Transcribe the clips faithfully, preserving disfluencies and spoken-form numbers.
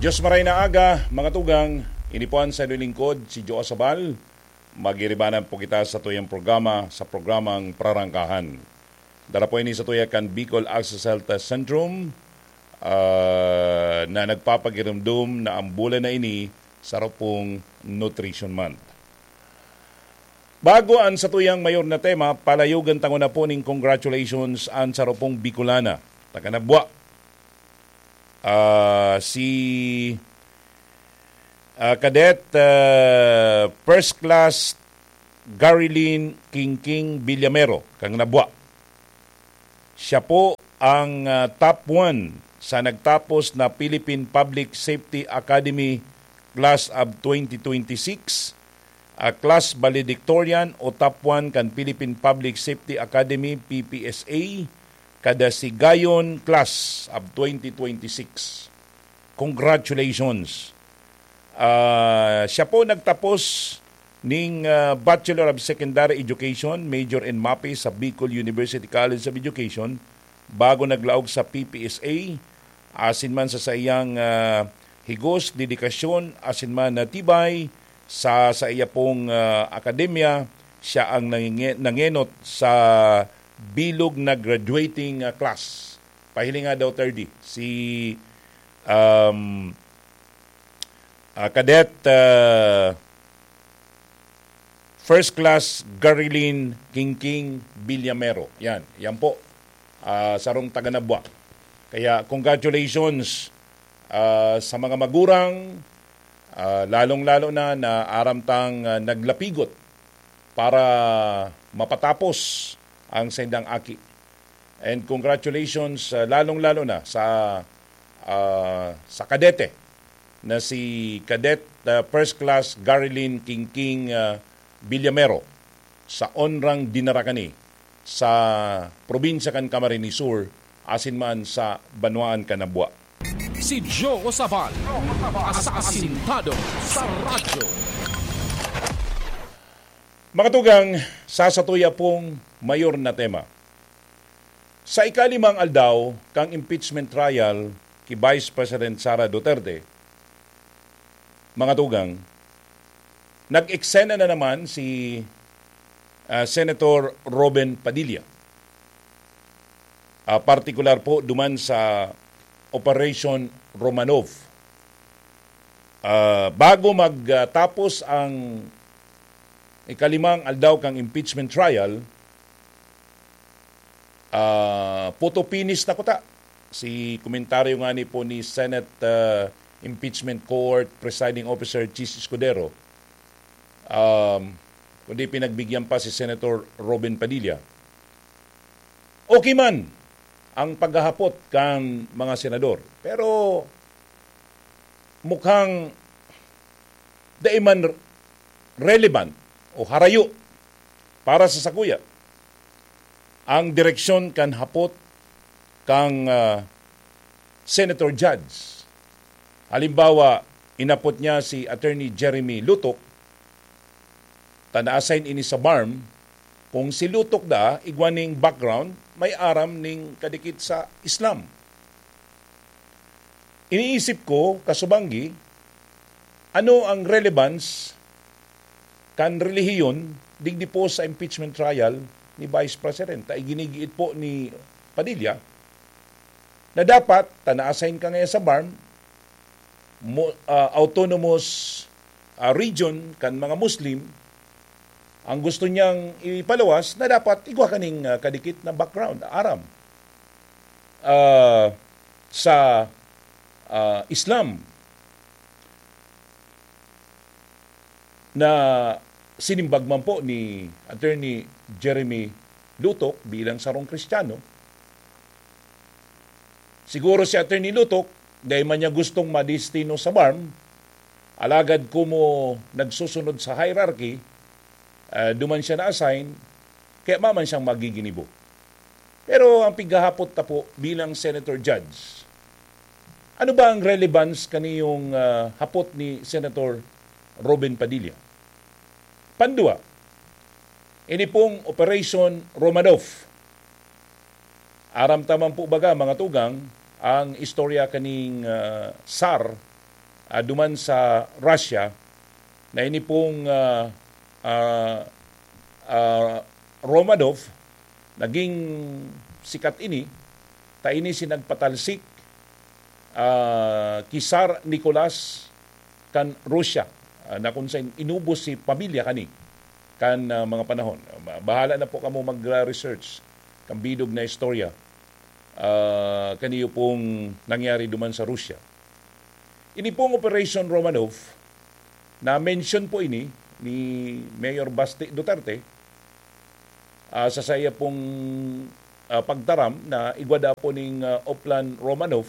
Diyos maray na aga, mga tugang, ini po an saindong lingkod, si Joe Sabal. Magiribanan po kita sa tuyang programa, sa programang Prarangkahan. Dara po ini sa tuya kan Bicol Access Health Centrum, ah, na nagpapagirumdom na ang bulan na ini sa rupong Nutrition Month. Bago an satuyang mayor na tema, palayogan tango na po ning congratulations an sarupong Bicolana, taga Nabua. Ah, si, ah, Cadet, ah, First Class Garilyn Kingking Villamero, kang Nabua. Siya po ang, ah, top one sa nagtapos na Philippine Public Safety Academy Class of twenty twenty-six, ah, class valedictorian o top one kan Philippine Public Safety Academy, P P S A, kada Sigayon Class of twenty twenty-six. Congratulations! Ah, siya po nagtapos ning, ah, Bachelor of Secondary Education, major in MAPEH sa Bicol University College of Education, bago naglaog sa P P S A, asin man sa saiyang, ah, higos, dedikasyon, asin man na tibay sa, sa iya pong, ah, akademya, siya ang nanginge-, nangenot sa bilog na graduating, ah, class. Pahiling nga daw, thirty, si, um, ah, Cadet, ah, First Class Garilyn Kingking Villamero. Yan, yan po. Ah, sarong taga Nabua. Kaya congratulations, ah, sa mga magurang, ah, lalong-lalo na, na aram tang, ah, naglapigot para mapatapos ang saindang aki. And congratulations, ah, lalong-lalo na sa, ah, sa kadete na si Cadet, ah, First Class Garilyn Kingking, ah, Villamero, sa onrang dinara kani sa probinsya kan Camarines Sur, asin man sa banwaan kan Nabua. Si Joe Sabal, asasintado sa radyo. Mga tugang, sa satuya pong mayor na tema. Sa ikalimang aldaw kan impeachment trial ki Vice President Sara Duterte, mga tugang, nag-eksena na naman si, ah, Senator Robin Padilla. Ah, partikular po duman sa Operation Romanov. Ah, bago magtapos ang ikalimang aldaw kan impeachment trial, ah, photo finish na kuta. Si komentaryo ngani po ni Senate, ah, Impeachment Court Presiding Officer Chiz Escudero, um, kundi pinagbigyan pa si Senator Robin Padilla. Okay man ang paghahapot kan mga senador, pero mukhang dai man relevant o harayo para sa sakuya ang direksyon kan hapot kan, ah, Senator Judge. Halimbawa, inapot niya si Attorney Jeremy Lutok, ta na-assign ini sa BARMM. Kung si Lutok da, igwa ning background, may aram ning kadikit sa Islam. Iniisip ko, kasubanggi, ano ang relevance kan relihiyon digdi po sa impeachment trial ni Vice President? Ta iginigiit po ni Padilla na dapat, ta na-assign ka ngayon sa BARMM, mo-, ah, autonomous, ah, region kan mga Muslim, ang gusto niyang ipaluwas na dapat igwa kaning, ah, kadikit na background, aram, ah, sa, ah, Islam na sinimbag man po ni Attorney Jeremy Lutok bilang sarong Kristiyano. Siguro si Attorney Lutok, dai man niya gustong madestino sa BARMM, alagad komo nagsusunod sa hierarchy, ah, duman siya na-assign, kaya maman siyang magiginibo. Pero ang pighahapot ta po bilang Senator Judge, ano ba ang relevance kaniyong, ah, hapot ni Senator Robin Padilla? Pandua, ini pong Operation Romanov. Aram ta man po baga, mga tugang, ang istorya kaning, ah, SAR ah, duman sa Russia, na ini pong, ah, ah, ah, Romanov, naging sikat ini, ta ini si nagpatalsik, ah, ki Tsar Nicolas kan Russia, ah, na kung saan inubos si pamilya kani kan, ah, mga panahon. Ba-, bahala na po kamo mag-research kan bilog na istorya, ah, kaniyo pong nangyari duman sa Russia. Ini pong Operation Romanov, na-mention po ini ni Mayor Basti Duterte, ah, sa saiya pong, ah, pagtaram na igwa daw po ning, ah, Oplan Romanov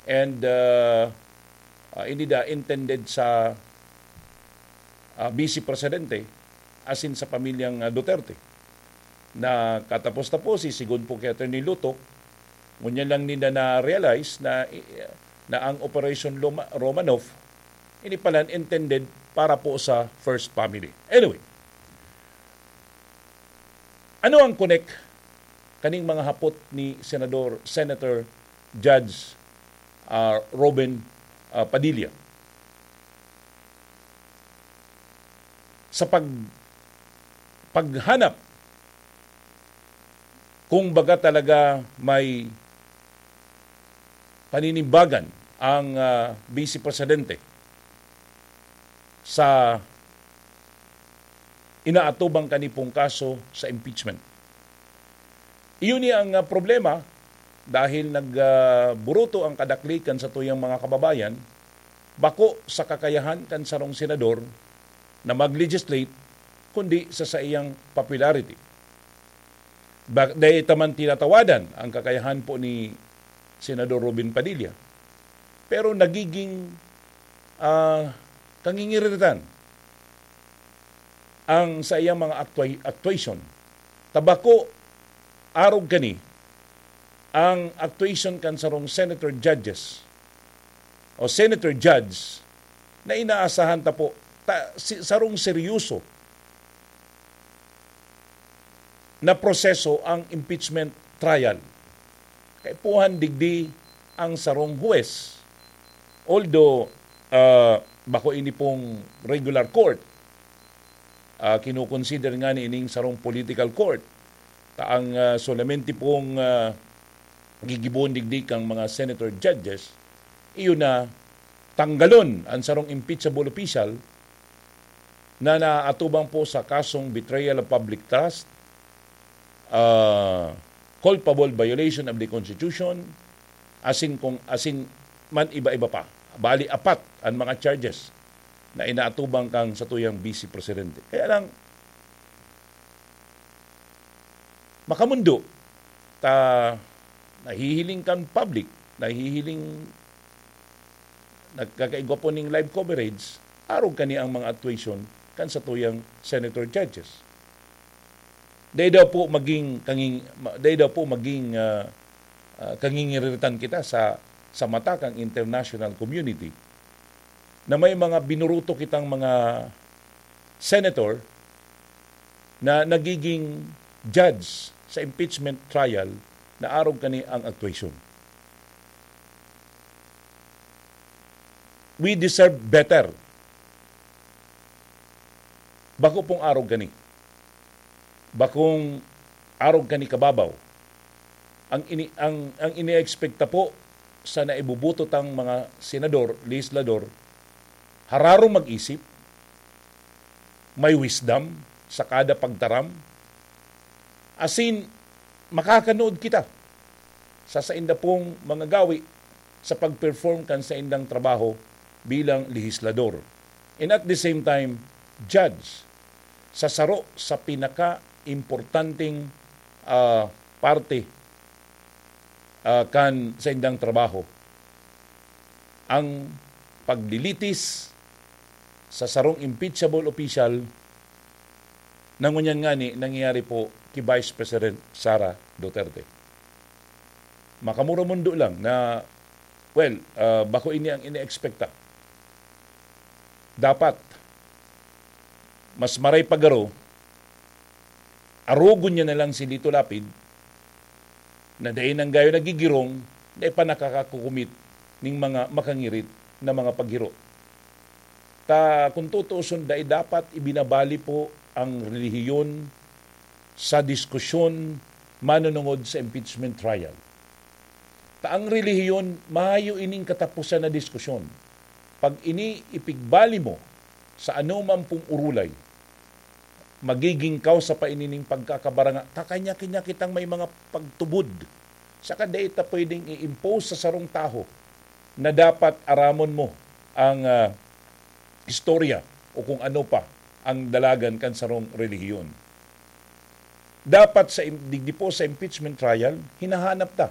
and, ah, ah, ini da intended sa, ah, Vice Presidente asin sa pamilyang, ah, Duterte. Na katapos-tapos, si sigon po kay Attorney Lutok, ngunyan lang nila na-realize na, na ang Operation Loma-, Romanov, ini pala intended para po sa first family. Anyway, ano ang connect kaning mga hapot ni Senador, Senator Judge, ah, Robin, ah, Padilla? Sa pag-, paghanap kung baga talaga may paninimbagan ang, ah, Vice Presidente sa inaatubang kani pong kaso sa impeachment. Iyon ni ang, ah, problema dahil nag, ah, buruto ang kadaklikan sa tuyang mga kababayan, bako sa kakayahan kan sarong senador na mag-legislate, kundi sa saiyang popularity. Ba-, dai ta man tinatawadan ang kakayahan po ni Senador Robin Padilla, pero nagiging, ah, kangingiritan ang saiyang mga actuay-, actuation. Ta bako, arog kani, ang actuation kan sarong senator judges o senator judge na inaasahan ta po, ta-, si-, sarong seryoso na proseso ang impeachment trial. Kaipuhan digdi ang sarong huwes. Although, ah, bako ini pong regular court, ah, kinukonsider nga ni ining sarong political court. Ta ang, ah, solamente pong, ah, gigibohon digdi kang mga senator judges, iyo na tanggalon ang sarong impeachable official na naatubang po sa kasong betrayal of public trust, ah, culpable violation of the Constitution, asin kung, asin man iba-iba pa. Bali, apat ang mga charges na inaatubang kang satuyang Vice Presidente. Kaya lang, makamundo, ta nahihiling kan public, nahihiling, nagkakaigwa po ning live coverage, arog kani ang mga actuation kan satuyang senator judges. Dai daw po maging kanging-, ma-, dai daw po maging, ah, ah, kangingiritan kita sa, sa mata kang international community na may mga binuruto kitang mga senator na nagiging judge sa impeachment trial na arog kani ang actuation. We deserve better. Bako pong arog kani. Bakong arog kani kababaw. Ang ini-, ang, ang iniekspekta po sa naibubuto tang mga senador, legislador, hararong mag-isip, may wisdom sa kada pagtaram, asin makakanood kita sa sainda pong mga gawi sa pag-perform kan saindang trabaho bilang legislador. And at the same time, judge sa saro sa pinaka-importanteng, ah, parte, ah, kan saindang trabaho, ang paglilitis sa sarong impeachable official na ngunyan ngani nangyayari po ki Vice President Sara Duterte. Makamuramundo lang na, well, ah, bako ini ang iniekspekta. Dapat, mas maray pa garo, arogon niya na lang si Lito Lapid, na dai nang gayo nagigirong, dai pa nakakakukumit ning mga makangirit na mga paghiro. Ta kung tutuuson, dai dapat ibinabali po ang relihiyon sa diskusyon manunungod sa impeachment trial. Ta ang relihiyon, mayo ining katapusan na diskusyon. Pag ini ipigbali mo sa anuman pong urulay, magiging kausa pa ini ning pagkakabaranga. Kakanya-kanya kitang may mga pagtubod. Saka dai ta pwedeng i-impose sa sarong taho na dapat aramon mo ang, ah, istorya o kung ano pa ang dalagan kan sarong relihiyon. Dapat sa im-, digdi po sa impeachment trial, hinahanap ta